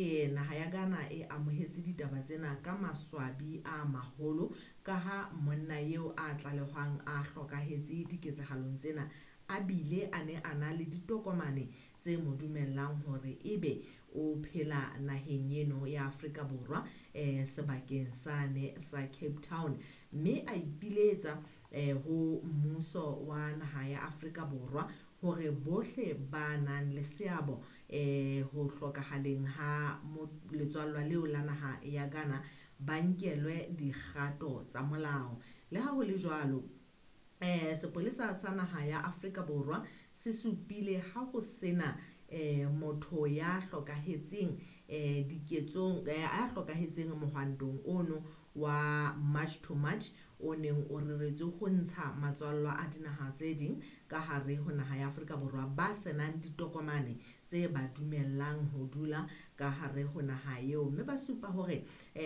Naha ya Ghana e amohetse ditaba tsena ka maswabi a maholo ka ha monna eo a tlalehwang a hlokahetse diketsahalong tsena a bile a ne a na le ditokomane tse mo dumellang hore ebe o phela naheng eno ya Afrika Borwa sebakeng sane sa Cape Town, mme a ipiletsa ho mmuso wa naha ya Afrika Borwa hore bohle ba nang le seabo ho hlokahaleng ha letswallwa leo la naha ya Ghana ba nkelwe dikgato tsa molao. Le ha ho le jwalo, sepolesa sa naha ya Afrika Borwa se supile ha ho sena motho ya hlokahetseng diketsong a hlokahetseng mohwantong ono wa March to March o neng o reretswe ho ntsha matswallwa a dinaha tse ding ka hare ho naha ya Afrika Borwa ba senang ditokomane tse ba dumellang ho dula ka hare ho naha eo, mme ba supa hore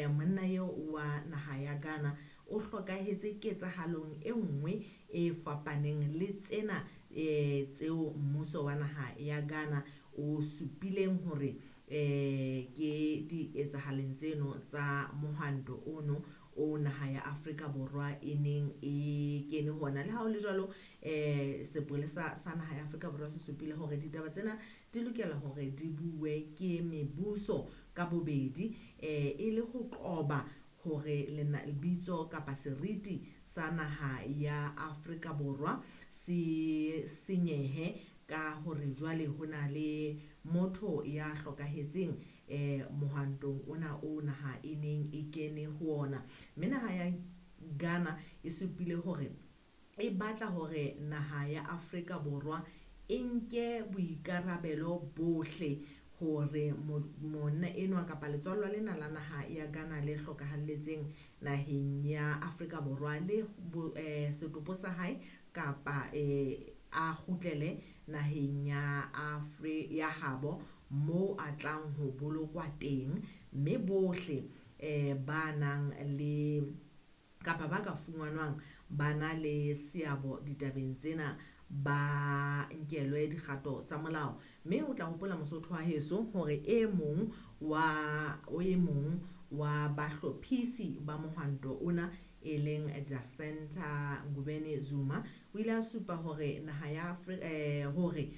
monna eo wa naha ya Ghana o hlokahetse ketsahalong e nngwe e fapaneng le tsena tseo mmuso wa naha ya Ghana o supileng hore ke dietsahaleng tseno tsa mohwanto ono o naha ya Afrika Borwa e neng e kene hona. Le ha ho le jwalo, sepolesa sa naha ya Afrika Borwa se supile hore ditaba tsena di lokela hore di bue ke mebuso ka bobedi e le ho qoba hore lebitso kapa seriti sa naha ya Afrika Borwa se senyehe ka hore jwale ho na le motho ya hlokahetseng mohwantong ona o naha e neng e kene ho ona. Mme naha ya Ghana e supile hore e batla hore naha ya Afrika Borwa e nke boikarabelo bohle hore monna enwa kapa letswallwa lena la naha ya Ghana le hlokahalletseng naheng ya Afrika Borwa le setopo sa hae kapa a kgutlele naheng ya ya habo moo a tlang ho bolokwa teng, mme bohle ba nang le kapa ba ka fumanwang ba na le seabo ditabeng tsena ba nkelwe dikgato tsa molao. Mme o tla hopola Mosotho wa heso hore e mong wa bahlophisi ba mohwanto ona e leng Jacinta Ngobeni Zuma o ile a supa hore naha ya hore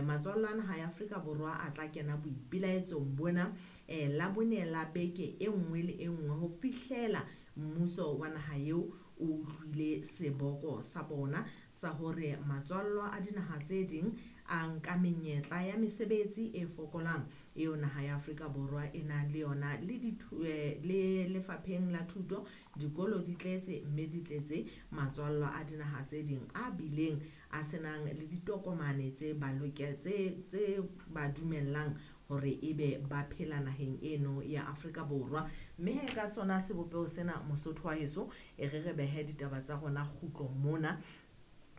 matswallo a naha ya Afrika Borwa a tla kena boipelaetsong bona Labone la beke e nngwe le e nngwe ho fihlela mmuso wa naha eo o utlwile seboko sa bona sa hore matswallo a dinaha tse ding a nka menyetla ya mesebetsi e fokolang eo naha ya Afrika Borwa e nang le yona le lefapheng la thuto dikolo di tletse mme di tletse matswallo a dinaha tse ding a bileng a senang le ditokomane tse ba tse ba dumellang hore ebe ba phela naheng eno ya Afrika Borwa. Mme he ka sona sebopeho sena Mosotho wa heso e re re behe ditaba tsa rona kgutlo mona,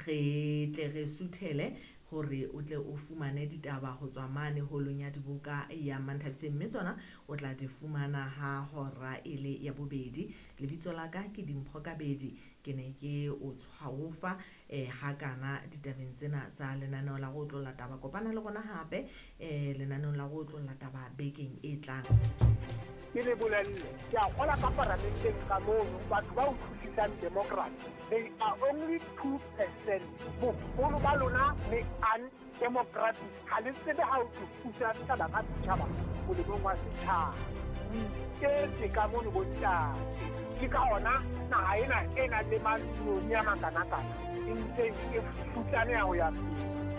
re tle re suthele hore o tle o fumane ditaba ho tswa mane holong ya diboka ya Manthabiseng, mme tsona o tla di fumana ha hora e le ya bobedi. Lebitso la ka ke Dimpho Kabedi, ke ne ke o tshwaofa hakana ditabeng tsena tsa lenaneo la go otlolla taba. Kopana le rona hape lenaneong la go otlolla taba bekeng e tlang. Ke le bolelle, ke a kgola ka paramenteng ka mono batho ba utlwisisang democracy, they are only 2%. Boholo ba lona le undemocratic, ha le tsebe ha o thusa setjhaba ka setjhaba molemong wa setjhaba. O iketse ka mono bontate, ke ka ona naha ena e nang le maloni a makanakana e ntseng e futsaneha ho ya pele.